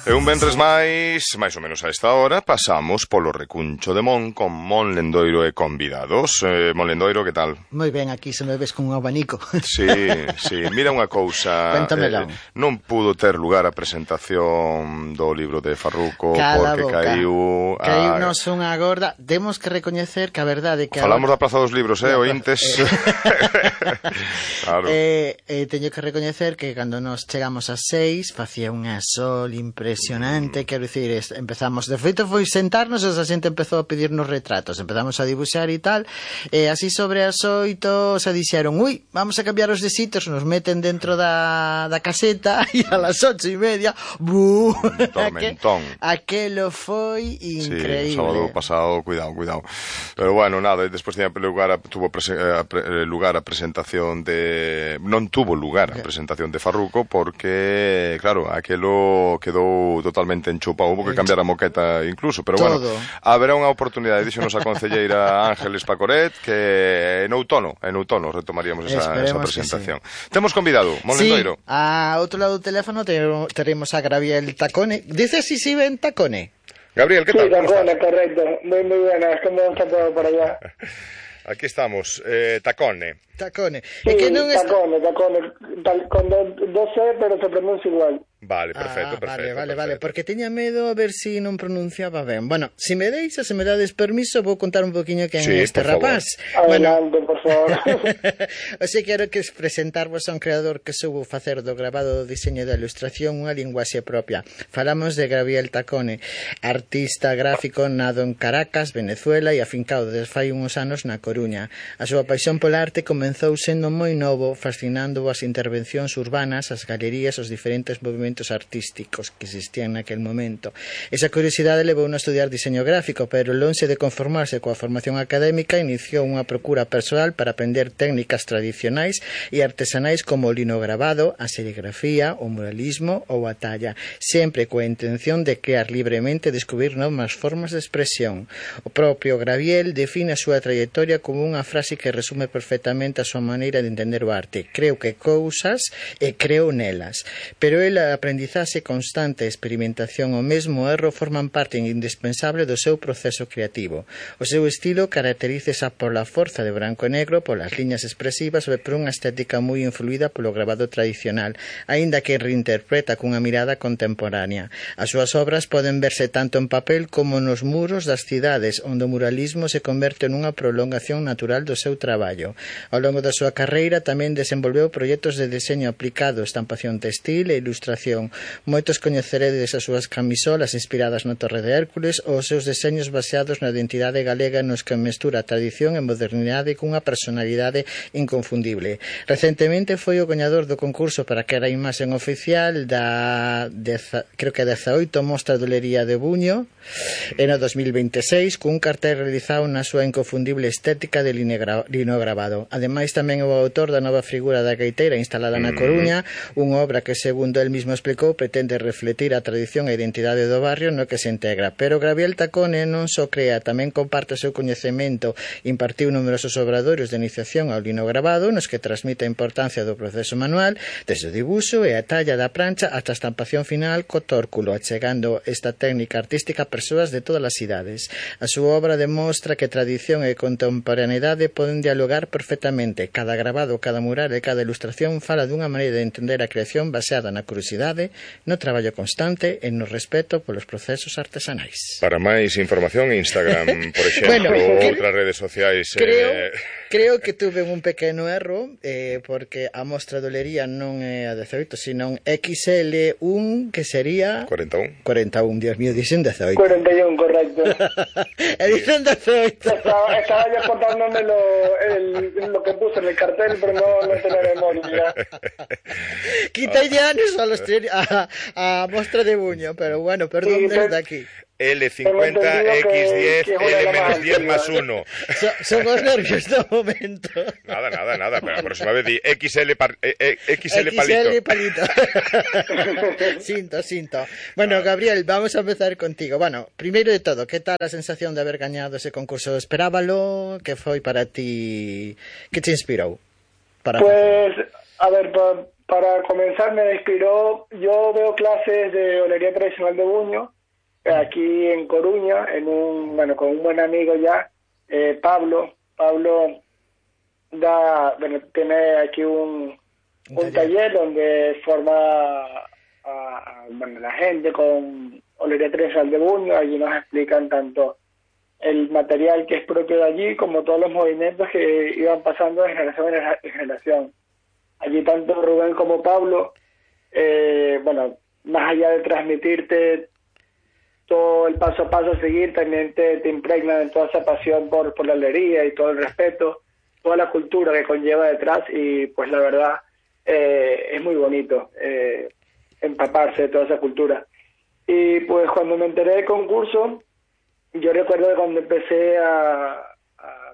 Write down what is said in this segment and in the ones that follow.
E un venres máis ou menos a esta hora, pasamos polo Recuncho de Mon con Mon Lendoiro e convidados. Mon Lendoiro, que tal? Moi ben, aquí se me ves con un abanico. Sí, mira unha cousa. Cuéntamelo. Non pudo ter lugar a presentación do libro de Farruco Cala porque boca. caiu nos unha gorda. Temos que recoñecer que a verdade que falamos da Praza dos Libros, ointes. Claro. Teño que recoñecer que cando nos chegamos ás 6 facía unha sol impresionante, quero dicir, empezamos, de feito foi sentarnos e a xente empezou a pedirnos retratos, empezamos a dibuixar e tal, e así sobre as 8 se dixeron, vamos a cambiar os de sitios, nos meten dentro da caseta e a las 8:30 tormentón. Aquelo foi increíble. Sí, o sábado pasado, cuidado. Pero bueno, nada, despois tuvo lugar a presentación de... Non tuvo lugar a presentación de Farruco porque, claro, aquelo quedou totalmente enchupado, houve que cambiar a moqueta incluso, pero todo. Bueno, haberá unha oportunidade, dixonos a concelleira Ángeles Pacoret, que en outono retomaríamos esa presentación. Sí. Temos convidado, Mon Lendoiro. Sí, a outro lado do teléfono teremos a Gabriel Tacone. Dice si ven Tacone. Gabriel, ¿qué tal? Sí, Tacone, correcto. Muy buenas, ¿cómo está todo por allá? Aquí estamos, Tacone. Sí, Tacone, con dos C, pero se pronuncia igual. Vale, perfecto. Vale, porque teña medo a ver si non pronunciaba ben. Bueno, se me dades permiso, vou contar un poquinho quen é este rapaz. Adelante, por favor. O sea, quero que presentarvos a un creador que soubo facer do grabado, do diseño e da ilustración unha linguaxe propia. Falamos de Gabriel Tacone, artista gráfico nado en Caracas, Venezuela, e afincado desde fai uns anos na Coruña. A súa paixón pola arte comenzou sendo moi novo, fascinando as intervencións urbanas, as galerías, os diferentes movimentos artísticos que existían naquel momento. Esa curiosidade levou a estudiar diseño gráfico, pero lonxe de conformarse coa formación académica, iniciou unha procura persoal para aprender técnicas tradicionais e artesanais como o linograbado, a serigrafía, o muralismo ou a talla, sempre coa intención de crear libremente e descubrir novas formas de expresión. O propio Gabriel define a súa trayectoria como unha frase que resume perfectamente a súa maneira de entender o arte. Creo que cousas e creo nelas. Pero a aprendizaxe constante e experimentación o mesmo erro forman parte indispensable do seu proceso creativo. O seu estilo caracterízase pola forza de branco e negro, polas liñas expresivas e por unha estética moi influída polo grabado tradicional, aínda que reinterpreta cunha mirada contemporánea. As súas obras poden verse tanto en papel como nos muros das cidades, onde o muralismo se converte nunha prolongación natural do seu traballo. Ao longo da súa carreira tamén desenvolveu proxectos de deseño aplicado, estampación textil e ilustración. Moitos coñeceredes as súas camisolas inspiradas na Torre de Hércules ou os seus deseños baseados na identidade galega nos que mestura tradición e modernidade cunha personalidade inconfundible. Recentemente foi o gañador do concurso para que era a imaxen oficial da creo que 18 Mostra de Olería de Buño en o 2026 cun cartel realizado na súa inconfundible estética de linograbado. Ademais tamén é o autor da nova figura da gaiteira instalada na Coruña, unha obra que segundo el mismo explicou pretende refletir a tradición e identidade do barrio no que se integra. Pero Gabriel Tacone non só crea, tamén comparte o seu coñecemento, impartiu numerosos obradoiros de iniciación ao linograbado nos que transmite a importancia do proceso manual, desde o dibuixo e a talla da prancha hasta a estampación final co tórculo, achegando esta técnica artística a persoas de todas as idades. A súa obra demostra que tradición e contemporaneidade poden dialogar perfectamente. Cada grabado, cada mural e cada ilustración fala dunha maneira de entender a creación baseada na curiosidade, no traballo constante e no respeto polos procesos artesanais. Para máis información, Instagram, por exemplo, outras redes sociais. Creo que tuve un pequeno erro, porque a mostra de olería non é a 18, sino XL1, que sería... 41. 41, Dios mío, dicen 18. 41, correcto. Dicen 18. Estaba yo contándome lo que puse en el cartel, pero no tenía memoria. Quita ya a mostra de Buño, pero bueno, perdón desde aquí. L50, X10, L-10 más 1. Son os nervios do momento. Nada, pero a próxima vez di XL palito. Sinto. Bueno, Gabriel, vamos a empezar contigo. Bueno, primeiro de todo, que tal a sensación de haber gañado ese concurso? Esperábalo? Que foi para ti? Que te inspirou? Pues, a ver, para comenzar me inspiró, yo veo clases de olería tradicional de Buño, aquí en Coruña, con un buen amigo ya, Pablo. Pablo tiene aquí un taller donde forma a la gente con olería tradicional de Buño. Allí nos explican tanto el material que es propio de allí como todos los movimientos que iban pasando de generación en generación. Allí tanto Rubén como Pablo, más allá de transmitirte todo el paso a paso a seguir, también te impregnan en toda esa pasión por la olería y todo el respeto, toda la cultura que conlleva detrás, y pues la verdad es muy bonito empaparse de toda esa cultura. Y pues cuando me enteré del concurso, yo recuerdo que cuando empecé a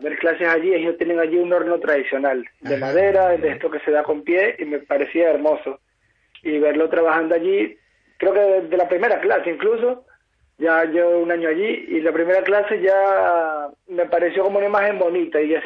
ver clases allí, ellos tienen allí un horno tradicional de madera, de esto que se da con pie, y me parecía hermoso. Y verlo trabajando allí, creo que desde la primera clase incluso, ya llevo un año allí, y la primera clase ya me pareció como una imagen bonita, y ya